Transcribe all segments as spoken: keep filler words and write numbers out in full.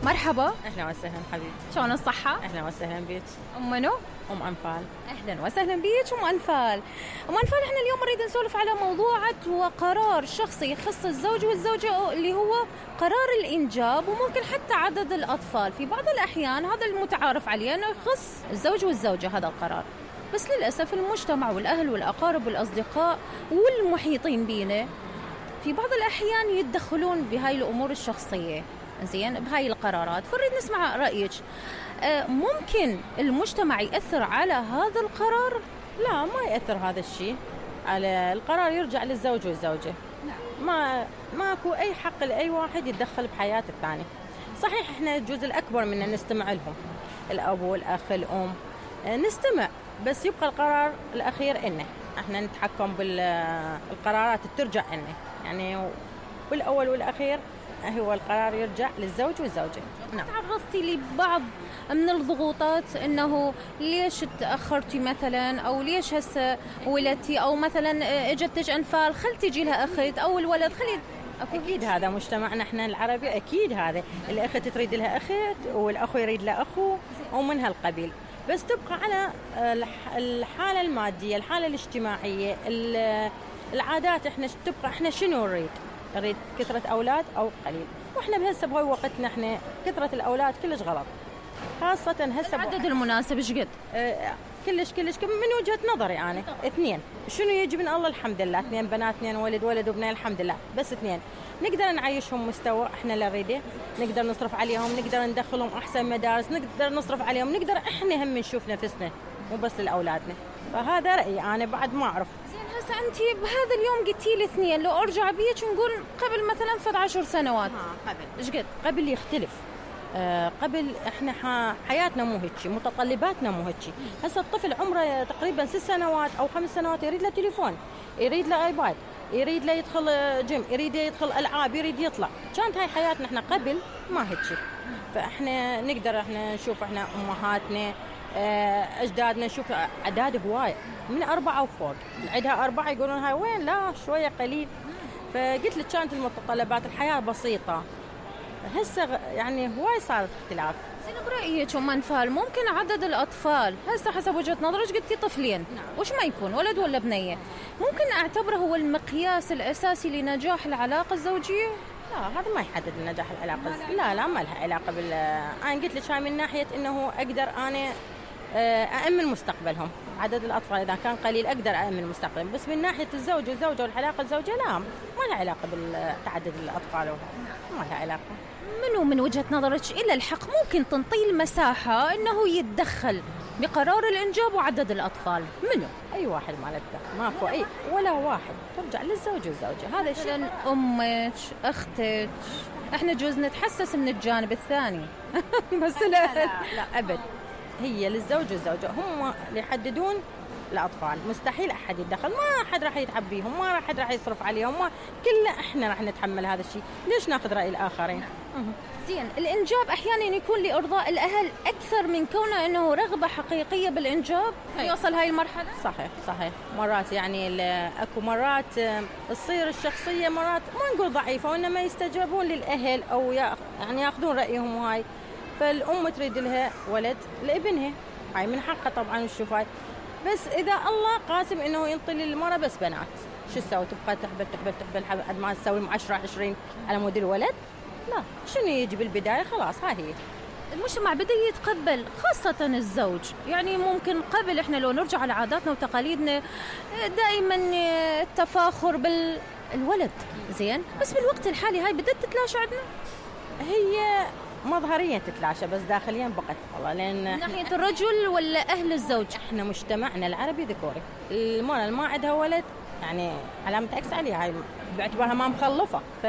مرحبا. اهلا وسهلا حبيبي. شلون الصحة؟ اهلا وسهلا بيك. ام منو؟ ام انفال. اهلا وسهلا بيك ام انفال. ام انفال احنا اليوم نريد نسولف على موضوع وقرار شخصي يخص الزوج والزوجة اللي هو قرار الانجاب، وممكن حتى عدد الاطفال. في بعض الاحيان هذا المتعارف عليه انه يخص الزوج والزوجة هذا القرار، بس للاسف المجتمع والاهل والاقارب والاصدقاء والمحيطين بينا في بعض الاحيان يتدخلون بهاي الامور الشخصية زين بهاي القرارات. فنريد نسمع رأيك. ممكن المجتمع يأثر على هذا القرار؟ لا، ما يأثر هذا الشيء على القرار، يرجع للزوج والزوجة. ما ماكو أي حق لأي واحد يتدخل بحياة الثاني. صحيح احنا الجزء الأكبر منا نستمع لهم، الأب والأخ الأم نستمع، بس يبقى القرار الأخير إنه احنا نتحكم بالقرارات ترجع إنه يعني بالأول والأخير هو القرار يرجع للزوج والزوجة. نعم. تعرضتي لبعض من الضغوطات انه ليش تأخرتي مثلا، او ليش هسه ولدتي، او مثلا اجتك انفال خل تجي لها اخت او الولد خلي؟ اكيد هذا مجتمعنا احنا العربي، اكيد هذا الاخت تريد لها اخت والاخو يريد له اخو ومن هالقبيل، بس تبقى على الحالة المادية، الحالة الاجتماعية، العادات. احنا تبقى احنا شنو نريد؟ نريد كثرة أولاد أو قليل، وإحنا بهسه بهاي وقتنا إحنا كثرة الأولاد كلش غلط، خاصة هسه العدد المناسب إيش قد؟ اه كلش كلش من وجهة نظري أنا اثنين. شنو يجي من الله؟ الحمد لله اثنين بنات، اثنين ولد، ولد وبنين، الحمد لله. بس اثنين نقدر نعيشهم مستوى إحنا اللي نريده، نقدر نصرف عليهم، نقدر ندخلهم أحسن مدارس، نقدر نصرف عليهم، نقدر إحنا هم نشوف نفسنا مو بس لأولادنا. فهذا رأيي أنا، بعد ما أعرف. هسه أنت بهذا اليوم قلتي لي اثنين، لو أرجع بيك ونقول قبل مثلا فد عشر سنوات ها قبل إيش قد؟ قبل يختلف. آه قبل إحنا حياتنا مو هيك، متطلباتنا مو هيك. هسه الطفل عمره تقريبا ست سنوات أو خمس سنوات يريد له تليفون، يريد له آيباد، يريد له يدخل جيم، يريد يدخل ألعاب، يريد يطلع. كانت هاي حياتنا إحنا قبل ما هيك. فإحنا نقدر إحنا نشوف إحنا أمهاتنا أجدادنا، نشوف أعداد هواية من أربعة وفوق، عندها أربعة يقولون هاي وين؟ لا شوية قليل. فقلت لك كانت المتطلبات الحياة بسيطة، هسه يعني هواي صارت اختلاف. زين برأيك أم أنفال ممكن عدد الأطفال هسه حسب وجهة نظرك قلتي طفلين، نعم. وش ما يكون ولد ولا بنية، ممكن أعتبره هو المقياس الأساسي لنجاح العلاقة الزوجية؟ لا، هذا ما يحدد نجاح العلاقة. لا لا ما لها علاقة بال أنا قلت لك هاي من ناحية إنه أقدر أنا أأمن مستقبلهم. عدد الأطفال إذا كان قليل أقدر أأمن مستقبلهم، بس من ناحية الزوج والزوجة والعلاقة الزوجية لا، ما لها علاقة بالتعدد الأطفال، ما لها علاقة. منو من وجهة نظرك إلى الحق ممكن تنطي المساحة إنه يتدخل بقرار الإنجاب وعدد الأطفال؟ منو؟ أي واحد ما له، ماكو أي ولا واحد، ترجع للزوج والزوجة. هذا الشيء أمك، أختك، إحنا جوز نتحسس من الجانب الثاني بس لا لا, لا, لا أبد، هي للزوج والزوجة هم اللي يحددون الأطفال. مستحيل أحد يتدخل، ما أحد راح يتعب بيهم، ما أحد راح يصرف عليهم، ما كله إحنا راح نتحمل هذا الشيء. ليش ناخذ رأي الآخرين؟ زين الإنجاب أحيانا يكون لإرضاء الأهل أكثر من كونه إنه رغبة حقيقية بالإنجاب يوصل هاي المرحلة. صحيح صحيح. مرات يعني أكو مرات تصير الشخصية مرات ما نقول ضعيفة، وإنما يستجابون للأهل أو يعني يأخذون رأيهم. وهاي فالأم تريد لها ولد لابنها، هاي من حقها طبعا نشوف هاي. بس إذا الله قاسم إنه ينطي للمرأة بس بنات، شو تسوي؟ تبقى تحبل تحبل تحبل قد ما تسوي عشرة عشرين على مود الولد؟ لا، شنو يجي بالبداية؟ خلاص هاي هي. المجتمع بدأ يتقبل خاصة الزوج، يعني ممكن قبل إحنا لو نرجع على عاداتنا وتقاليدنا دائما التفاخر بالولد زين، بس بالوقت الحالي هاي بدأت تتلاشى عندنا. هي مظهريا تتلاشى بس داخليا بقت والله، لأن ناحية الرجل ولا أهل الزوج؟ إحنا مجتمعنا العربي ذكوري، المرأة اللي ما عندها ولد يعني علامة أكس عليها، هاي باعتبارها ما مخلفة. ف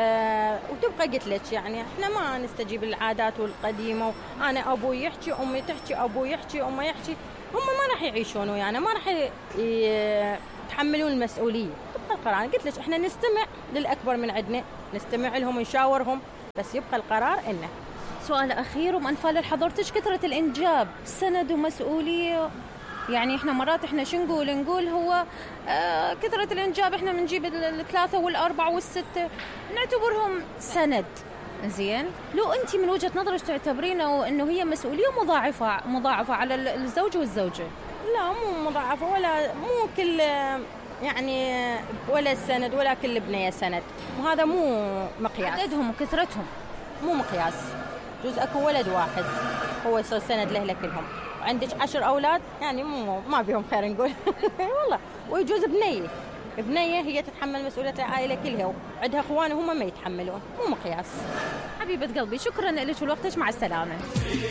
وتبقى قلت لك يعني إحنا ما نستجيب للعادات والقديمة، وأنا أبوي يحكي، أمي تحكي، أبوي يحكي، أمي يحكي، هم ما راح يعيشون ويانا، ما راح يتحملون المسؤولية. تبقى القرار، قلت لك إحنا نستمع للأكبر من عندنا، نستمع لهم ونشاورهم، بس يبقى القرار إنه. سؤال أخير ومن أنفال حضرتك، كثرة الإنجاب سند ومسؤولية؟ يعني إحنا مرات إحنا شو نقول نقول هو آه كثرة الإنجاب إحنا بنجيب الثلاثة والأربعة والستة نعتبرهم سند، زين، لو انت من وجهة نظرك تعتبرينه انه هي مسؤولية مضاعفة مضاعفة على الزوج والزوجة؟ لا مو مضاعفة، ولا مو كل يعني ولا السند ولا كل بنية سند، وهذا مو مقياس. عددهم وكثرتهم مو مقياس. جوز اكو ولد واحد هو يصير سند له لكلهم، وعندك عشر اولاد يعني مو ما بيهم خير نقول. والله. ويجوز بنية بنية هي تتحمل مسؤولية العائلة كلها، وعندها اخوان هم ما يتحملون، مو مقياس. حبيبة قلبي، شكرا لك ولوقتك، مع السلامة.